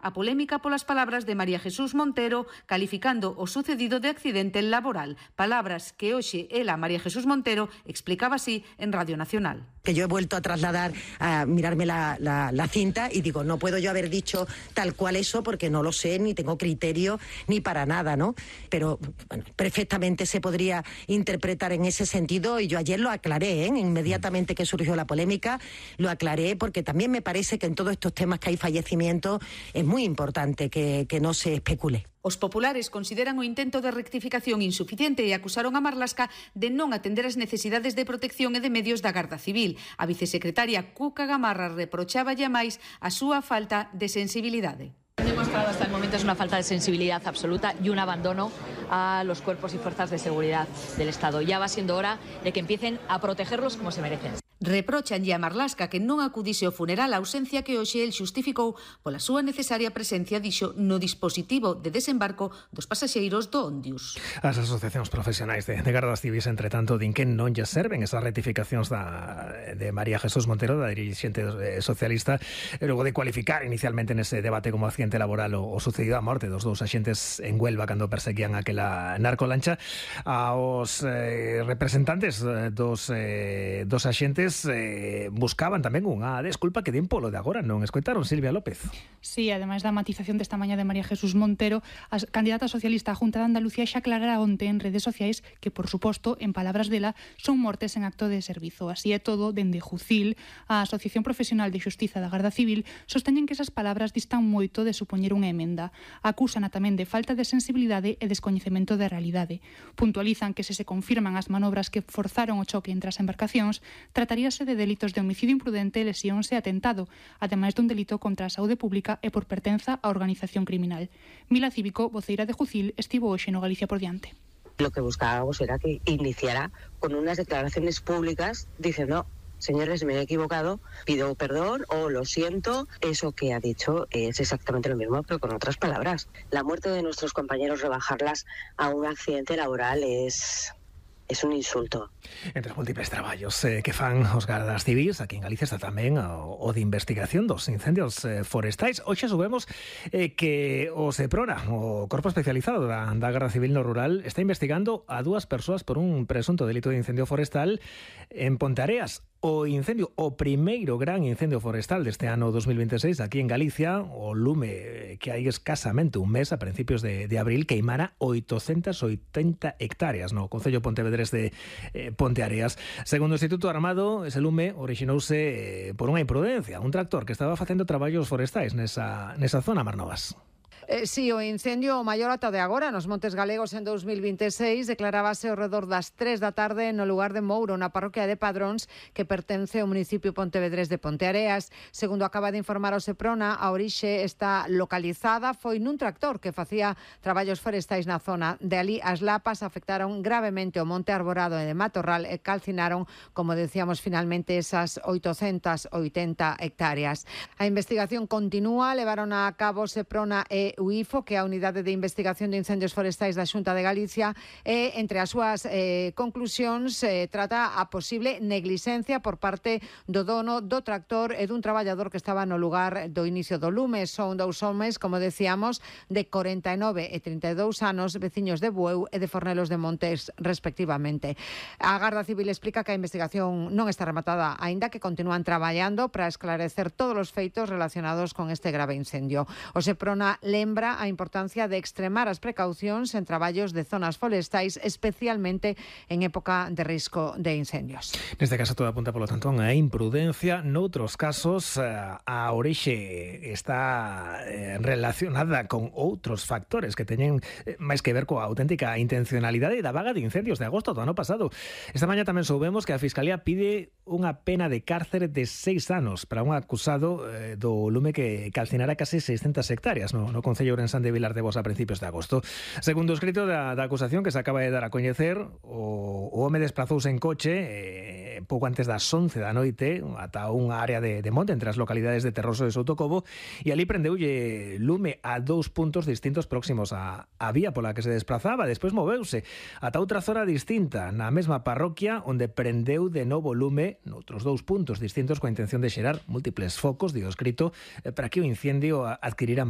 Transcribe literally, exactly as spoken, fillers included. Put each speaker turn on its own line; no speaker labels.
a polémica polas palabras de María Jesús Montero calificando o sucedido de accidente laboral. Palabras que hoxe ela, María Jesús Montero, explicaba así en Radio Nacional.
Que yo he vuelto a trasladar, a mirarme la, la, la cinta y digo, no puedo yo haber dicho tal cual eso porque no lo sé, ni tengo criterio, ni para nada, ¿no? Pero bueno, perfectamente se podría interpretar en ese sentido y yo ayer lo aclaré, ¿eh? Inmediatamente que surgió la polémica, lo aclaré porque también me parece que en todos estos temas que hay fallecimientos es muy importante que, que no se especule.
Os populares consideran o intento de rectificación insuficiente e acusaron a Marlaska de non atender as necesidades de protección e de medios da Garda Civil. A vicesecretaria Cuca Gamarra reprochaba ya máis a súa falta de sensibilidade.
Han demostrado hasta el momento es una falta de sensibilidad absoluta y un abandono a los cuerpos y fuerzas de seguridad del Estado. Ya va siendo hora de que empiecen a protegerlos como se merecen.
Reprochanlle a Marlaska que non acudise ao funeral, a ausencia que hoxe el xustificou pola súa necesaria presencia, dixo, no dispositivo de desembarco dos pasaxeiros do Ondius.
As asociacións profesionais de, de gardas civis, entre tanto, din que non lle serven esas rectificacións da, de María Jesús Montero, da dirixente socialista, e logo de cualificar inicialmente nese debate como accidente laboral o, o sucedido a morte dos dous axentes en Huelva cando perseguían aquela narcolancha. Aos eh, representantes dos, eh, dos axentes Eh, buscaban tamén unha desculpa que den polo de agora, non escoitaron, Silvia López?
Sí, ademais da matización desta mañá de María Jesús Montero, a candidata socialista á Junta de Andalucía xa aclarara onte en redes sociais que, por suposto, en palabras dela, son mortes en acto de servizo. Así é todo, dende Jucil, a Asociación Profesional de Xustiza da Garda Civil, sosteñen que esas palabras distan moito de supoñer unha emenda. Acúsana tamén de falta de sensibilidade e descoñecemento da realidade. Puntualizan que se se confirman as manobras que forzaron o choque entre as embarcacións, trataríase de delitos de homicidio imprudente, lesións e atentado, ademais dun delito contra a saúde pública e por pertenza á organización criminal. Mila Cívico, voceira de Jucil, estivo hoxe no Galicia por diante.
Lo que buscábamos era que iniciara con unas declaraciones públicas diciendo: señores, me he equivocado, pido perdón o lo siento. Eso que ha dicho es exactamente lo mismo, pero con otras palabras. La muerte de nuestros compañeros, rebajarlas a un accidente laboral es... es un insulto.
Entre os múltiples traballos eh, que fan os gardas civis, aquí en Galicia está tamén o, o de investigación dos incendios eh, forestais. Hoxe subemos eh, que o SEPRONA, o Corpo Especializado da, da Garda Civil no Rural, está investigando a dúas persoas por un presunto delito de incendio forestal en Ponteareas. O incendio, o primeiro gran incendio forestal deste ano dos mil veintiséis aquí en Galicia, o lume que hai escasamente un mes, a principios de, de abril, queimara oitocentas oitenta hectáreas no Concello Pontevedrés de eh, Ponteareas. Segundo o Instituto Armado, ese lume orixinouse eh, por unha imprudencia, un tractor que estaba facendo traballos forestais nesa, nesa zona, Marnovas.
Eh, sí, o incendio o maior ata de agora nos Montes Galegos en dos mil veintiséis declarábase ao redor das tres da tarde no lugar de Mouro, na parroquia de Padróns, que pertence ao municipio pontevedrés de Ponteareas. Segundo acaba de informar o SEPRONA, a orixe está localizada, foi nun tractor que facía traballos forestais na zona. De ali as lapas afectaron gravemente o monte arborado e de matorral e calcinaron, como decíamos, finalmente esas oitocentas oitenta hectáreas. A investigación continúa, levaron a cabo SEPRONA e U I F O, que é a Unidade de Investigación de Incendios Forestais da Xunta de Galicia, e entre as súas eh, conclusións eh, trata a posible negligencia por parte do dono do tractor e dun traballador que estaba no lugar do inicio do lume. Son dous homes, como decíamos, de corenta e nove e trinta e dous anos, veciños de Bueu e de Fornelos de Montes, respectivamente. A Garda Civil explica que a investigación non está rematada, aínda que continúan traballando para esclarecer todos os feitos relacionados con este grave incendio. O SEPRONA lembra a importancia de extremar as precaucións en traballos de zonas forestais, especialmente en época de risco de incendios.
Neste caso todo apunta, polo tanto, a imprudencia. Noutros casos, a orixe está relacionada con outros factores que teñen máis que ver coa auténtica intencionalidade da vaga de incendios de agosto do ano pasado. Esta mañá tamén soubemos que a Fiscalía pide unha pena de cárcere de seis anos para un acusado eh, do lume que calcinara case seiscentas hectáreas no, no Concello Ourensán de Vilar de Bos a principios de agosto. Segundo o escrito da, da acusación que se acaba de dar a coñecer, o, o home desprazouse en coche eh, pouco antes das once da noite ata unha área de, de monte entre as localidades de Terroso e Soutocobo, e ali prendeulle lume a dous puntos distintos próximos á, á vía pola que se desplazaba. Despois moveuse ata outra zona distinta na mesma parroquia, onde prendeu de novo lume noutros dous puntos distintos coa intención de xerar múltiples focos, dio escrito, para que o incendio adquirira maior